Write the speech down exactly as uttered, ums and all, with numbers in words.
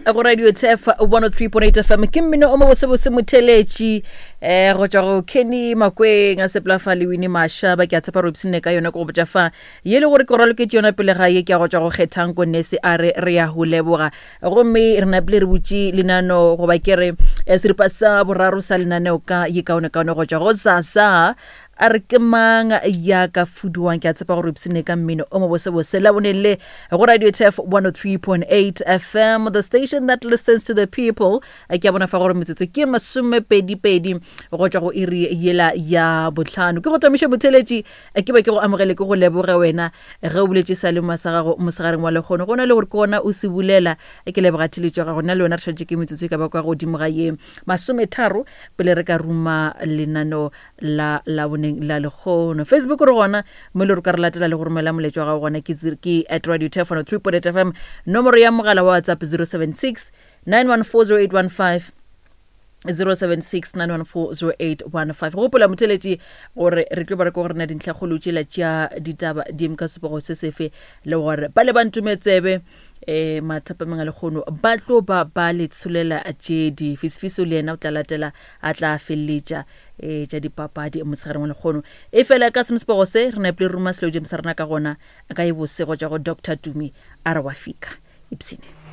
Go Radio Tf one oh three point eight F M ke mmino o mobosebose motheletši um go tšwa go Kenny Makweng a sepela fa le Wine Mashaba. Ke a tshepa re ipshinne ka yona. Ke go botša fa ye le gore ke raloketše yona pele ga ye ke ya go tšwa go Kgethang Konese a re re ya go leboga. Gomme re napile re butše lenano goba ke re eh, seripa sa boraro sa lenaneo ka ye kaonekaone go tšwa go Sasa a re ke mang ya ka fuduwang. Ke a tshepa gore ipsene ka mmino o mobosebose laboneng le go Radio Tf one oh three point eight F M, the station that listens to the people. Ke a bona fa gore metsotso ke masomepedi-pedi go tšwa go iri yela ya botlhano. Ke go tamiša motheletši, ke ba ke go amogele, ke go leboge wena ge o boletše sa lema sa gago mosegareng wa lekgono, go na le gore ke gona o se bulela. Ke leboga theletšo ya gago. Nna le wena re šantše ke metsotso e ka ba kwa godimo ga ye masometharo pele re ka ruma lenano la laboneng la lekgono. Facebook re gona mo le re ka re latela le go romela moletšo wa gago gona, ke zero- ke at Radio Tf one oh three point eight F M. Nomoro ya mogala wa WhatsApp zero seven six nine one four zero eight one five, zero seven six nine one four zero eight one five. Go gopola motheletši gore re tlo ba re ko gore na dintlhakgolo tšela tša ditaba di eme ka sepego se sefe, le gore ba le ba ntumetsebe um mathapameng a lekgono ba tlo ba ba le tsholela tše di Fisifiso le yena o tla latela a tla feleletša um tša dipapadi motshegareng wa lekgono. E fela ka seno sepego se re napile re ruma selo jemo sa rena ka gona ka e bosego tša go Doctor Tumi a re wa fika ipsene.